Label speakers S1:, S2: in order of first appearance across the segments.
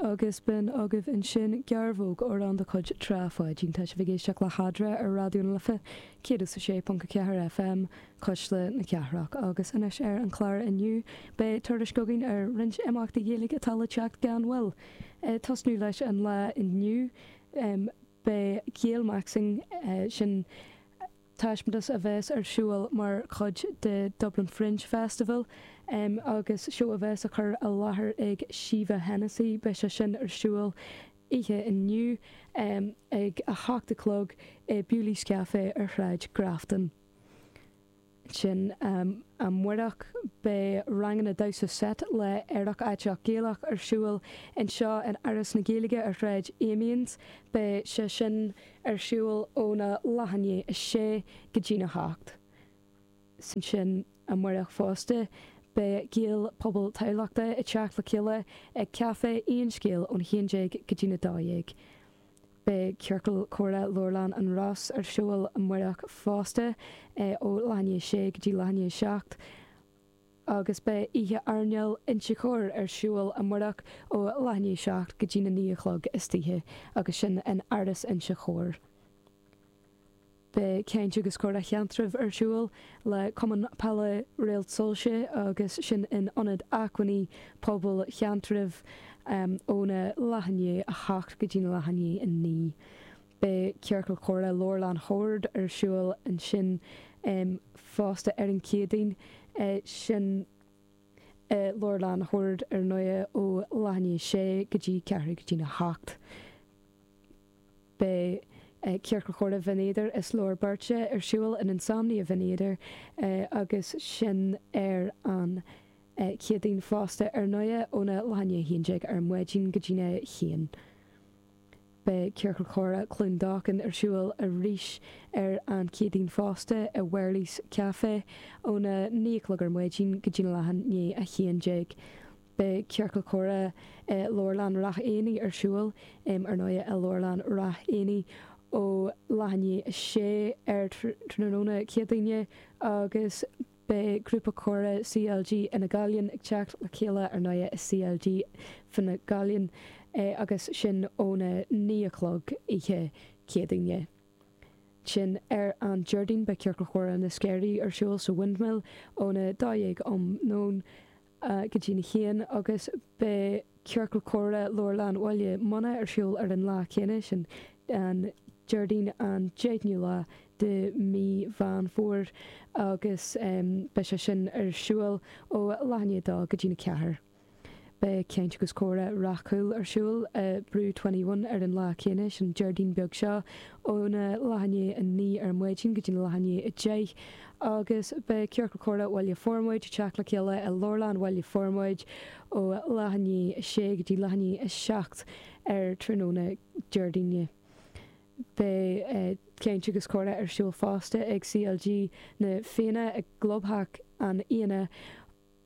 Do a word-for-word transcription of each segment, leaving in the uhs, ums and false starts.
S1: Agus b'in agaibh ansin Gearbhóg, amhrán de chuid Trá Pháidín. Tá sibh ag éisteacht le hEadra ar Raidió na Life céad is a sé ponc a ceathair FM, Cuisle na Cathrach. Agus anois ar an chlár inniu beidh tuairisc againn ar roinnt imeachtaí Gaeilge atá le teacht gan mhoill. Tosnú leis an lá inniu, beidh Gaelmaxxing, sin taispeántas a bheas ar siúl mar chuid de Dublin Fringe Festival agus seó a bheas á chur i láthair ag Síomha Hennessy. Beidh sé sin ar siúl oíche inniu ag a hocht a chlog i Bewley's Café ar Shráid Grafton. Ansin amárach beidh ranganna damhsa seit le Aerach Aiteach Gaelach ar siúl anseo in Áras na Gaeilge ar Shráid Amiens. Beidh sé sin ar siúl óna leath i ndiaidh a sé go dtína hocht. Ansin amárach fosta beidh Gaelphobal Thamhlachta ag teacht le chéile ag Café Aon Scéal ón haon déag go dtína dó dhéag. Beidh Ciorcal Comhrá Leabharlann an Ros ar siúl amárach fosta ó leath i ndiaidh a sé go dtí leath i ndiaidh a seacht agus beidh Oíche Airneáil Inse Chór ar siúl amárach ó leath i ndiaidh a seacht go dtí na naoi a chlog istoíche agus sin in Áras Inse Chór. Beidh Caint agus Comhrá Sheantraibh ar siúl le Cumann Peile Réalt Soilse agus sin in Ionad Acmhainní Pobail Sheantraibh óna leath i ndiaidh a hocht go dtí na leath i ndiaidh a naoi. Beidh Ciorcal Comhrá Leabharlann Shoird ar siúl ansin fosta ar an Chéadaoin, sin i Leabharlann Shoird ar ndóigh ó leath i ndiaidh a sé go dtí ceathrú go dtí na hocht. Beidh Ciorcal Comhrá Bhinn Éadair is Leabhar Beirte ar siúl in Insomnia Bhinn Éadair agus sin ar an Chéadaoin fosta ar ndóigh óna leath i ndiaidh a haon déag ar maidin go dtína haon. Beidh Ciorcal Comhrá Cluain Dolcáin ar siúl arís ar an Chéadaoin fosta i Wherley's Café óna naoi a chlog ar maidin go dtína leath i ndiaidh a haon déag. Beidh Ciorcal Comhrá i Leabharlann Ráth Éanaigh ar siúl, ar ndóigh, i Leabharlann Ráth Éanaigh ó leath i ndiaidh a sé ar tráthnóna Céadaoine agus beidh Grúpa Comhrá C L G Fhine Gaillimh ag teacht le chéile ar ndóigh i C L G Fine Gaillimh agus sin óna naoi a chlog oíche Céadaoine. Sin ar an Déardaoin beidh Ciorcal Comhrá na Sceirí ar siúl sa Windmill óna dó dhéag um nóin go dtí na haon agus beidh Ciorcal Comhrá Leabharlann Bhaile Munna ar siúl ar an lá céanna, sin an Déardaoin an deichiú lá de mí Mheán Fómhair agus beidh sé sin ar siúl ó leath i ndiaidh a dó go dtí na ceathair. Beidh Caint agus Comhrá Rath Cúil ar siúl i Brew Twenty One ar an lá céanna, sin Déardaoin beag seo, óna leath i ndiaidh a naoi ar maidin go dtí na leath i ndiaidh a deich agus beidh Ciorcal Comhrá Bhaile Formaid ag teacht le chéile i Leabharlann Bhaile Formaid ó leath i ndiaidh a sé go dtí leath i ndiaidh a seacht ar tráthnóna Déardaoine. Beidh Caint agus Comhrá ar siúl fosta ag C L G na Fianna i gClubtheach an Fhianna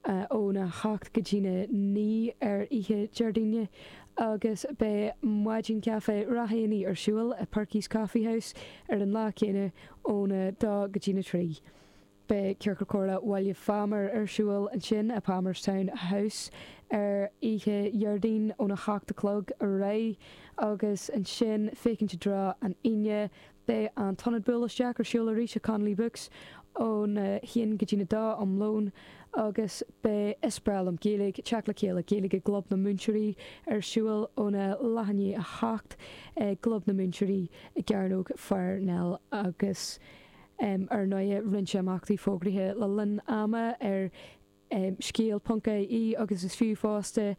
S1: óna hocht go dtí na naoi ar oíche Déardaoine agus beidh Maidin Caife Ráth Éanaigh ar siúl i Perky's Coffee House ar an lá céanna óna dó go dtí na trí. Beidh Ciorcal Comhrá Bhaile Phámar ar siúl ansin i Palmerstown House ar oíche Dhéardaoin óna hocht a chlog ar aghaidh agus ansin féachaint i dtreo an Aoine beidh an t-ionad buail isteach ar siúl arís i Connolly Books óna haon go dtí na dó um lón agus beidh Is Breá Liom Gaeilge teacht le chéile Gaeilge i gClub na Múinteoirí ar siúl óna leath i ndiaidh a hocht i gClub na Múinteoirí i gCearnóg Pharnell agus ar ndóigh roinnt imeachtaí fógraithe le linn ama ar scéal ponc I E agus is fiú fosta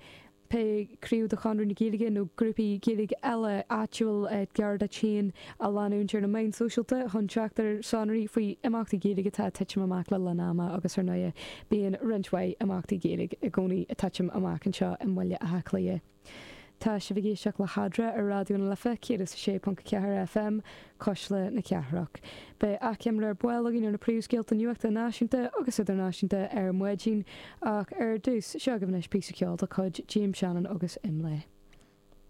S1: pé craobh de Chonradh na Gaeilge nó grúpaí Gaeilge eile áitiúil gar duit féin a leanúint ar na meáin sóisialta chun teacht ar sonraí faoi imeachtaí Gaeilge atá ag titim amach le linn ama agus ar ndóigh bíonn roinnt mhaith imeachtaí Gaeilge i gcónaí ag titim amach anseo i mBaile Átha Cliath. Tá sibh ag éisteacht le hEadra ar Raidió na Life céad is a sé ponc ceathair F M, Cuisle na Cathrach. Beidh achoimre ar ball againn ar na príomhscéalta nuachta náisiúnta agus idirnáisiúnta ar maidin ach ar dtús seo agaibh anois píosa ceoil de chuid James Shannon agus Imlé.